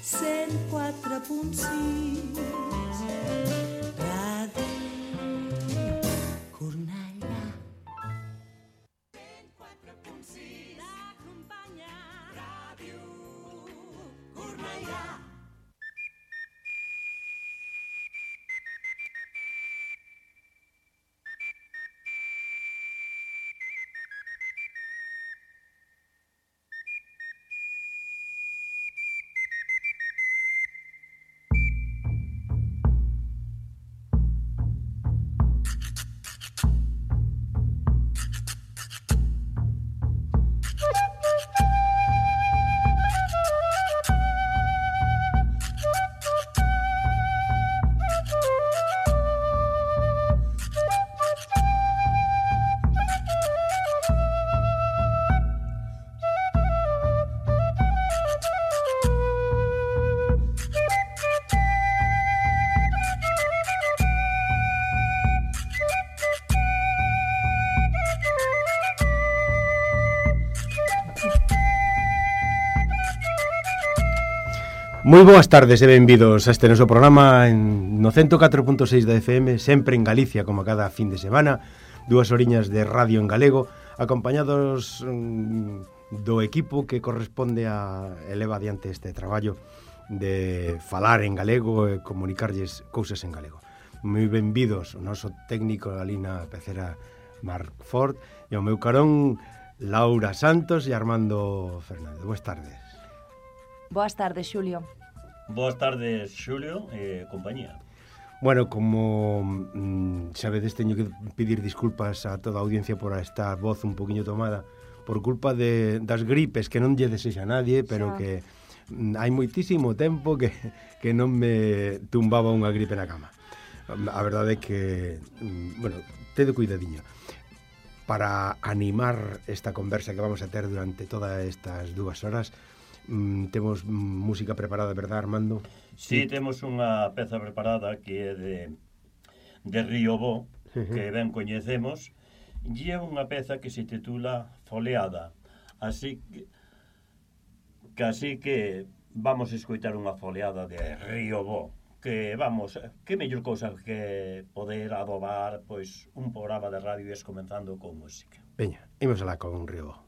104.6 Ràdio Cornellà. 104.6 l'acompanya Ràdio Cornellà. Moi boas tardes e benvidos a este noso programa no 104.6 da FM, sempre en Galicia, como cada fin de semana, 2 horiñas de radio en galego, acompañados do equipo que corresponde a eleva adiante este traballo de falar en galego e comunicarlles cousas en galego. Moi benvidos o noso técnico Alina Pecera Marc Ford e o meu carón Laura Santos e Armando Fernández. Boas tardes. Boas tardes, Xulio. Boas tardes, Xulio e compañía. Bueno, como sabedes, teño que pedir disculpas a toda a audiencia por esta voz un poquinho tomada por culpa das gripes, que non lle desexa a nadie, pero que hai moitísimo tempo que non me tumbaba unha gripe na cama. A verdade é que, bueno, tede cuidadiño. Para animar esta conversa que vamos a ter durante todas estas 2 horas, temos música preparada, verdad, Armando? Sí, temos unha peza preparada que é de Río Bo, que ben coñecemos, e é unha peza que se titula Foleada. Así que vamos a escoitar unha foleada de Río Bo, que vamos, que mellor cousa que poder adobar pois un programa de radio es comenzando con música. Veña, imos alá con Río Bo.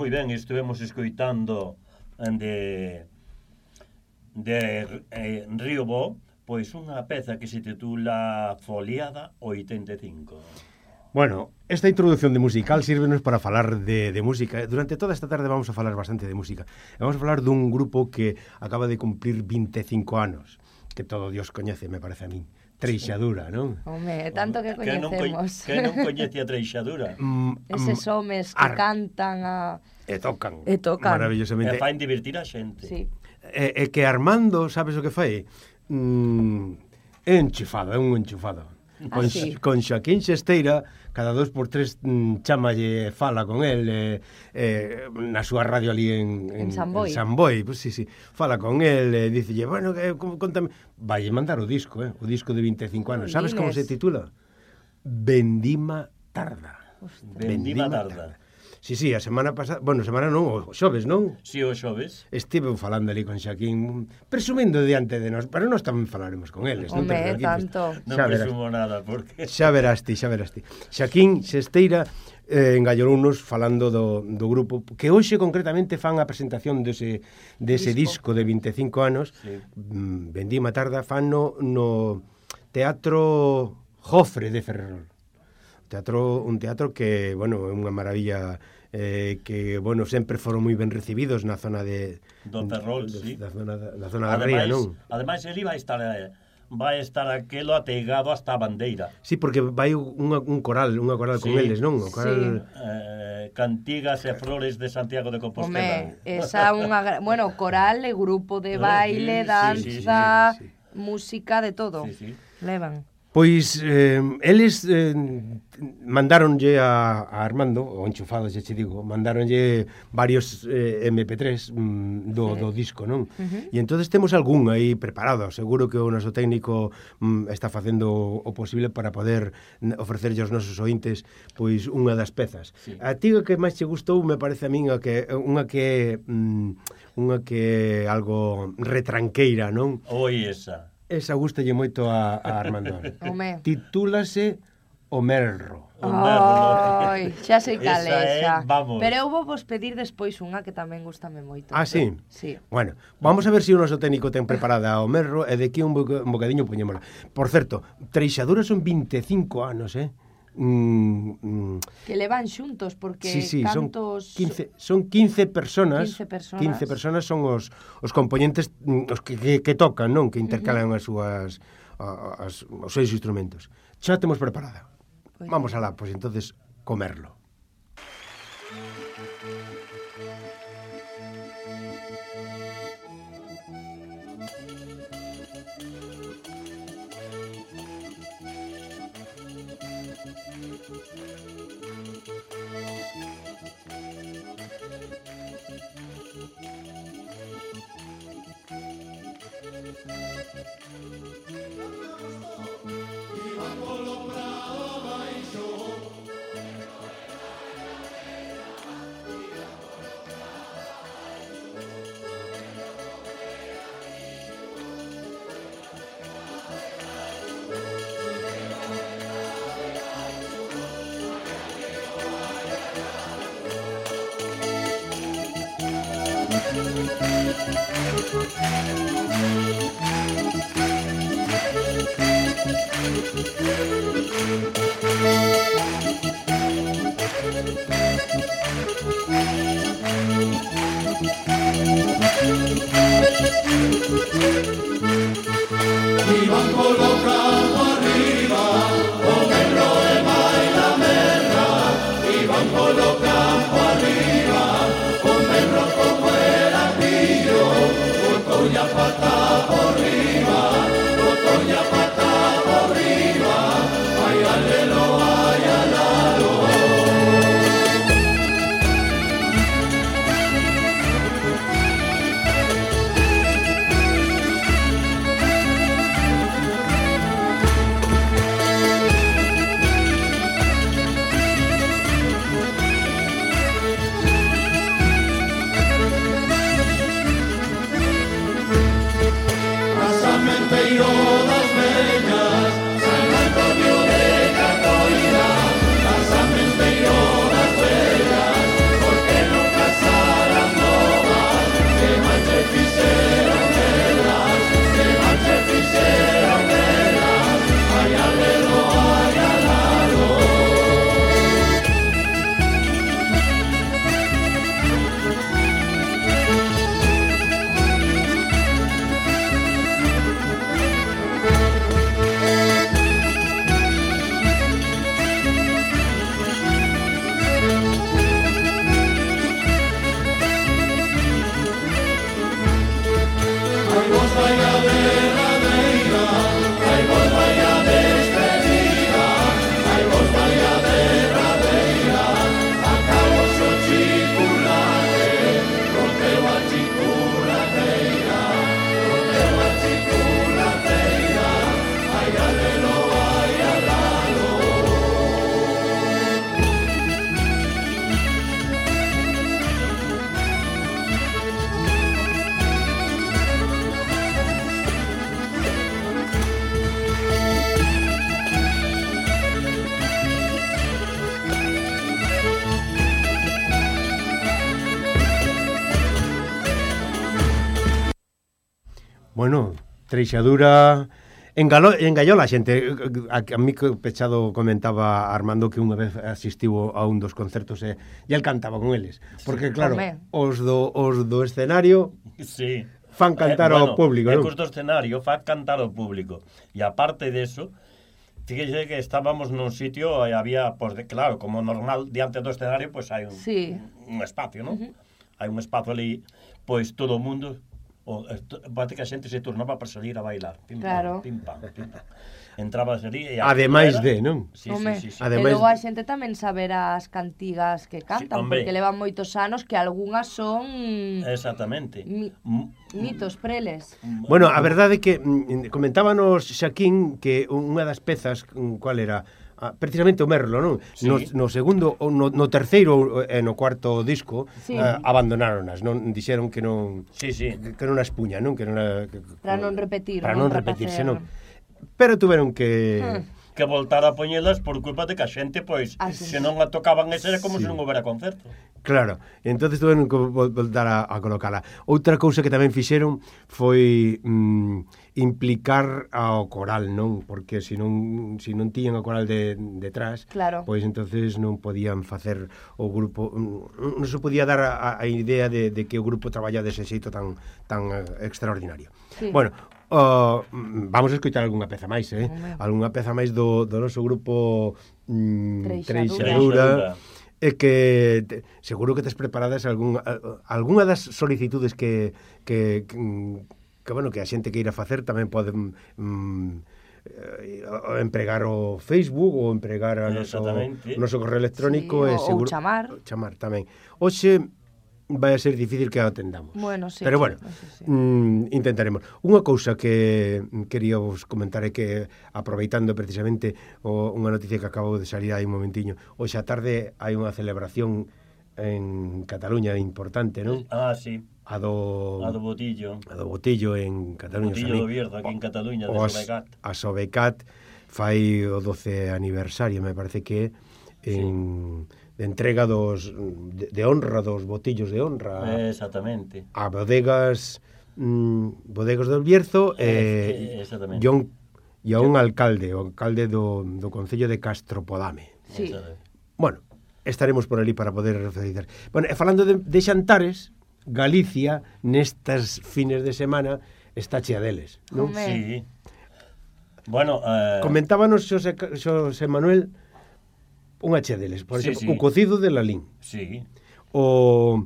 moi ben, estivemos escoitando de Río Bo, pois unha peza que se titula Foliada 85. Bueno, esta introducción de musical sírvenos para falar de música. Durante toda esta tarde vamos a falar bastante de música. Vamos a falar dun grupo que acaba de cumplir 25 anos, que todo Dios coñece, me parece a min. Treixadura, non? Home, tanto que coñecemos. Que non coñece a Treixadura. Eses homes que cantan E tocan. E Maravillosamente. fain divertir a xente. Sí. E que Armando, sabes o que fai? É enchufado, é un enchufado. Sí. Con Xaquín Xesteira, cada 2x3 chámalle, fala con el na súa radio ali en San Boi. En San Boi, pues sí, fala con el, dicelle, bueno, contame, vai mandar o disco de 25 anos. Sabes como se titula? Vendima tarda. Vendima tarda. Sí, a semana pasada, bueno, semana non, o xoves, non? Si, o xoves. Estive falando ali con Xaquín, presumindo diante de nós, pero nós tamén falaremos con eles. Home, tanto. Non presumo nada, porque... Xa verás ti. Xaquín Xesteira engallounos falando do grupo, que hoxe concretamente fan a presentación dese disco de 25 anos, sí. Vendima tarda, fan no Teatro Jofre de Ferrol. Un teatro que, bueno, é unha maravilla, que, bueno, sempre foron moi ben recibidos na zona de... Do Ferrol, sí. Na zona da Ría, non? Ademais, ele vai estar aquelo ateigado hasta a bandeira. Sí, porque vai un coral con eles, non? O coral... Cantigas e flores de Santiago de Compostela. Home, esa unha... Bueno, coral e grupo de baile, danza, música, de todo. Sí. Levan. Pois eles mandáronlle a Armando, o enchufado, xa che digo, mandáronlle varios MP3 do disco, non? E entonces temos algún aí preparado. Seguro que o noso técnico está facendo o posible para poder ofrecerlle aos nosos ointes pois unha das pezas. Sí. A ti o que máis che gustou me parece a min unha que é algo retranqueira, non? Oi, esa. Esa gustalle moito a Armando. Home. Titúlase O Merro. Ai, xa sei cal esa. Vamos. Pero eu vou vos pedir despois unha que tamén gustame moito. Ah, sí? Sí. Bueno, vamos a ver se o noso técnico ten preparada o Merro e de aquí un bocadiño poñémola. Por certo, Treixadura son 25 anos, que levan xuntos porque sí, cantos... son 15 personas. 15 personas son os componentes os que tocan, non? Que intercalan as súas os seus instrumentos. Xa temos preparada. Vamos alá, pois entonces comerlo. Iban colocando arriba, con el roe baila merra, iban colocando arriba, con el roe como el anillo, botoña pata por arriba, botoña pata por arriba, ay alelo, ay alalo. Bueno, Treixadura engallola a xente. A mí que pechado comentaba Armando que unha vez asistiu a un dos concertos e el cantaba con eles. Porque claro, os do escenario Sí. fan cantar ao público, non? Os do escenario fan cantar ao público. E aparte deso, fíjese que estábamos nun sitio e había, pues, claro, como normal, diante do escenario, pues hai un espacio, non? Hai un espacio ali, pois todo o mundo, parece que a xente se turnaba para salir a bailar. Pim, claro. Pim, pam, pim, pam. Entrabas ali e... Ademais de, non? Sí. E Ademais... logo a xente tamén saber as cantigas que cantan, porque levan moitos anos que algunhas son... Exactamente. Mitos preles. Bueno, a verdade é que comentábanos Xaquín que unha das pezas, cual era? Precisamente o Merlo, non? Sí. No segundo, no terceiro e no cuarto disco abandonáronas, non dixeron que non que non as puña, non? Que non para non repetir, para non repetirse, non. Pero tuveron que voltar a poñelas por culpa de que a xente, pois, se non a tocaban esa era como se non houbera concerto. Claro, entonces tuveron que voltar a colocala. Outra cousa que tamén fixeron foi implicar ao coral, non? Porque se non tiñan o coral detrás, pois entonces non podían facer o grupo, non se podía dar a idea de que o grupo traballa dese xeito tan extraordinario. Sí. Bueno, vamos a escoitar algunha peza máis, algunha peza máis do noso grupo Treixadura. É que seguro que tes preparadas algunha das solicitudes que bueno, que a xente que irá facer tamén poden empregar o Facebook ou empregar o noso correo electrónico e seguro chamar tamén. Hoxe vai a ser difícil que a atendamos. Bueno, sí. Pero bueno, intentaremos. Unha cousa que quería vos comentar é que, aproveitando precisamente unha noticia que acabo de salir aí un momentiño, hoxe a tarde hai unha celebración en Cataluña importante, non? Sí. A do Botillo. A do Botillo en Cataluña. Botillo do Bierzo, aquí en Cataluña, de Sobecat. A Sobecat fai o 12 aniversario, me parece que de entrega de honra dos botillos de honra. Exactamente. A bodegas del Bierzo e a un alcalde, o alcalde do Concello de Castropodame. Sí. Bueno, estaremos por ali para poder felicitar. Bueno, e falando de xantares, Galicia nestas fines de semana está chea deles, non? Sí. Bueno, comentábanos Xosé Manuel unha chea deles, por exemplo, o cocido de lalín. Sí. O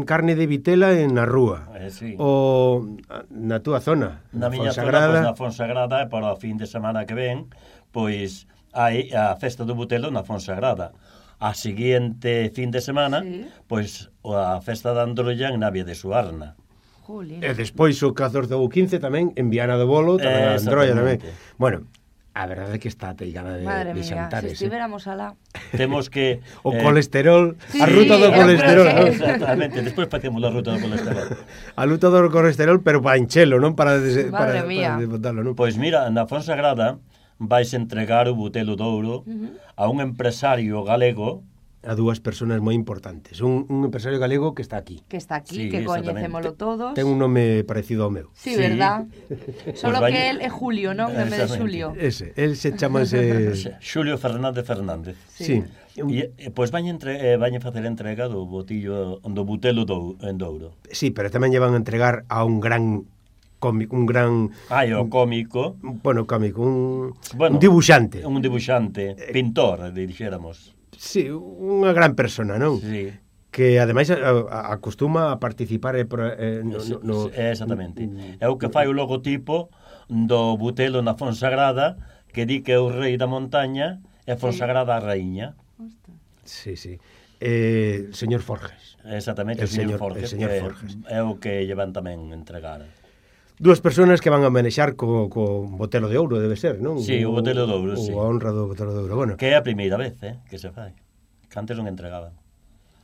carne de vitela na rúa. O na túa zona, na miña zona, pois na Fonsagrada, para o fin de semana que ven, pois hai a festa do Butelo na Fonsagrada. A seguinte fin de semana, pois a festa da Androlla en Navia de Suarna. E despois o 14 ou 15 tamén en Viana do Bolo, tamén a Androlla tamén. Bueno, a verdade é que está ateigada de xantares. Se estivéramos alá. Temos que... o colesterol, a ruta do colesterol. Exactamente, despois facemos a ruta do colesterol. A ruta do colesterol, pero para enchelo, non para desbotarlo, non? Pois mira, na Fonsagrada vais entregar o Butelo de Ouro a un empresario galego, a dúas persoas moi importantes. Un empresario galego que está aquí. Que está aquí, que coñecémolo todos. Ten un nome parecido ao meu. Sí, verdad. Solo que él é Julio, non? En vez de Xulio. Ese, él se chama Xulio Fernández. Sí. E pois vañen facer entrega do botillo do Butelo en Douro. Sí, pero tamén lle van a entregar a un gran cómico, un gran... o cómico. Bueno, cómico, un dibuixante. Un dibuixante, pintor, dixéramos. Sí, unha gran persona, non? Sí. Que ademais acostuma a participar exactamente. É o que fai o logotipo do Butelo na Fonsagrada, que di que é o rei da montaña e Fonsagrada a raíña. Sí. Señor Forges. Exactamente, el señor Forges. É o que llevan tamén entregar. Dúas persoas que van a manexar co Botelo de Ouro, debe ser, non? Sí, o Botelo de Ouro, sí. O a honra do Botelo de Ouro, bueno. Que é a primeira vez, que se fai. Que antes non entregaban.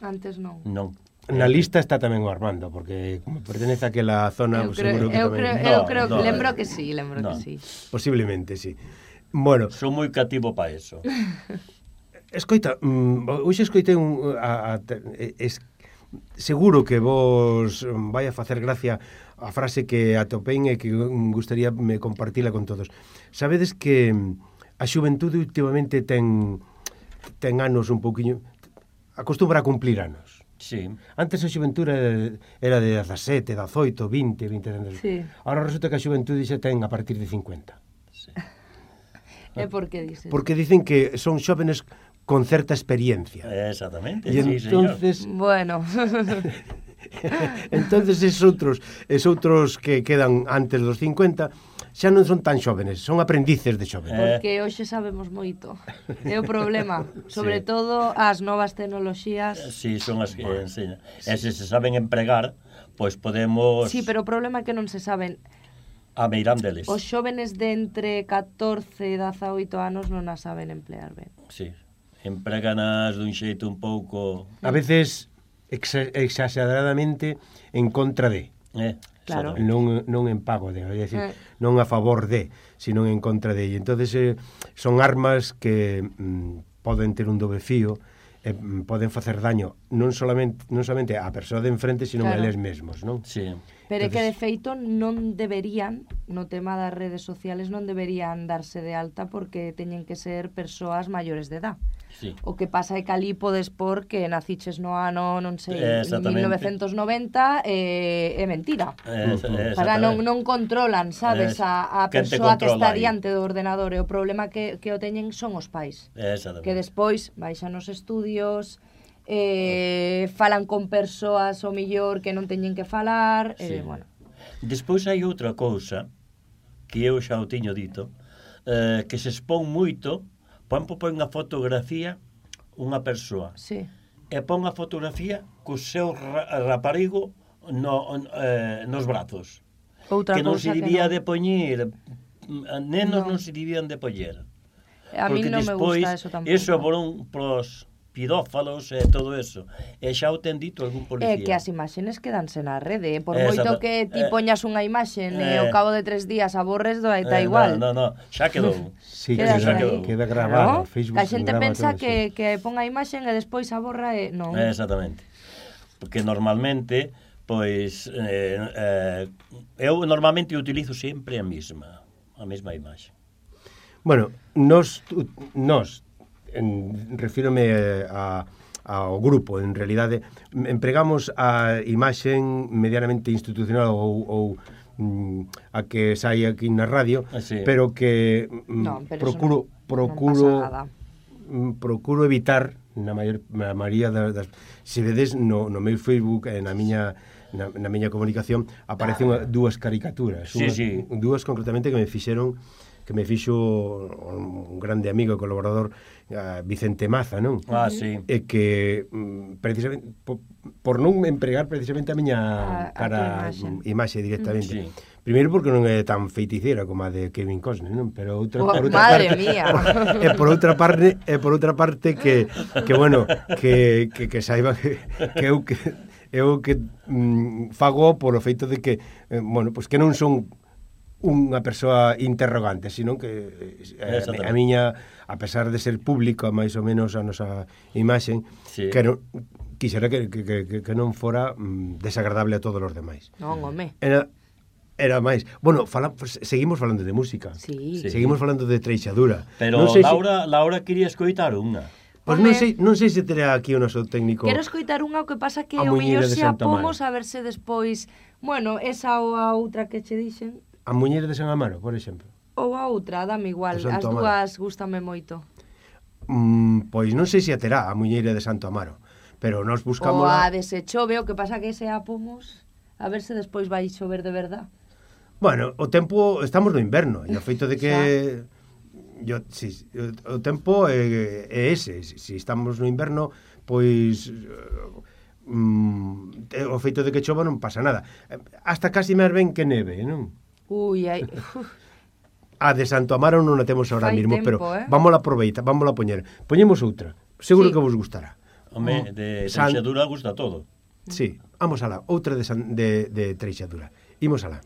Antes non. Non. Na lista está tamén o Armando, porque como pertenece a aquela zona, seguro que tamén... Eu creo que lembro que sí. Posiblemente, sí. Bueno... Son moi cativo para eso. Escoita, hoxe escoitei seguro que vos vai a facer gracia a frase que atopein e que gustaría me compartila con todos. Sabedes que a xuventude últimamente ten anos un pouquiño, acostumbra a cumplir anos. Sí. Antes a xuventude era de 17, 18, 20 anos. Sí. Ahora resulta que a xuventude xa ten a partir de 50. Sí. E por que dices? Porque dicen que son xóvenes con certa experiencia. Exactamente, E sí, entonces, Bueno. entonces es outros que quedan antes dos 50 xa non son tan xóvenes, son aprendices de xóvenes. Porque hoxe sabemos moito. É o problema. Sobre todo as novas tecnoloxías. Sí, son as que enseñan. E se saben empregar, pois podemos... Sí, pero o problema é que non se saben. A meirán deles. Os xóvenes de entre 14 e 18 anos non as saben emplear ben. Sí. Empreganas dun xeito un pouco... A veces exageradamente en contra de. Claro. Non en pago de, é dicir, non a favor de, sino en contra de. E entonces son armas que poden ter un doble fío, poden facer daño non solamente á persoa de enfrente, sino a eles mesmos, non? Sí. Pero é que de feito non deberían, no tema das redes sociales, non deberían darse de alta porque teñen que ser persoas maiores de edad. Sí. O que pasa é que ali podes por que naciches no ano, non sei, 1990, é mentira. Para non controlan, sabes, a persoa que está diante do ordenador. E o problema que o teñen son os pais. Que despois baixan os estudios, falan con persoas o millor que non teñen que falar, bueno. Despois hai outra cousa que eu xa o tiño dito, que se expón moito. Pon unha fotografía unha persoa e pon a fotografía co seu raparigo nos brazos. Outra que non se debía de poñer, nenos non se debían de poñer. A mí non me gusta eso tampouco. Eso pros pedófalos e todo eso. E xa o ten dito algún policía. É que as imaxes quedanse na rede. Por moito que ti poñas unha imaxe e ao cabo de 3 días aborres, está igual. No, xa quedou. Sí, queda grabado. Facebook, a xente pensa que pon a imaxe e despois aborra e non. Exactamente. Porque normalmente, pois, eu normalmente utilizo sempre a mesma imaxe. Bueno, nos refírome ao grupo, en realidade empregamos a imaxen medianamente institucional ou a que sai aquí na radio, pero que procuro evitar na maioría das, se vedes no meu Facebook, na miña comunicación aparecen dúas caricaturas, dúas concretamente que me fixo un grande amigo e colaborador, Vicente Maza, non? Sí. E que precisamente por non empregar precisamente a miña cara imaxe directamente. Sí. Primeiro porque non é tan feiticeira como a de Kevin Costner, non? Pero madre mía. E por outra parte que bueno, que saiba que eu que fago por o feito de que bueno, pois que non son unha persoa interrogante, sino que a miña, a pesar de ser pública máis ou menos a nosa imaxen, quixera que non fora desagradable a todos os demais. Non, home. Era máis. Bueno, seguimos falando de música. Sí. Seguimos falando de treixadura. Pero Laura quería escoitar unha. Pois non sei se terá aquí o noso técnico. Quero escoitar unha, o que pasa que o mellor se apomos a verse despois, bueno, esa ou a outra que che dixen. A Muñeira de San Amaro, por exemplo. Ou a outra, dame igual, as dúas gústame moito. Pois non sei se a terá a Muñeira de Santo Amaro, pero nós buscamos... Ou a de se chove, o que pasa que se apomos, a ver se despois vai chover de verdad. Bueno, o tempo, estamos no inverno, e o feito de que... o tempo é ese, se estamos no inverno, pois... o feito de que chova non pasa nada. Hasta casi máis ben que neve, non? Ui, ai... A de Santo Amaro non a temos ahora mismo, tempo, pero vámola aproveitar, vámola poñer. Poñemos outra, seguro que vos gustará. Home, de Treixadura gusta todo. Sí, vamos alá, outra de Treixadura. Imos alá.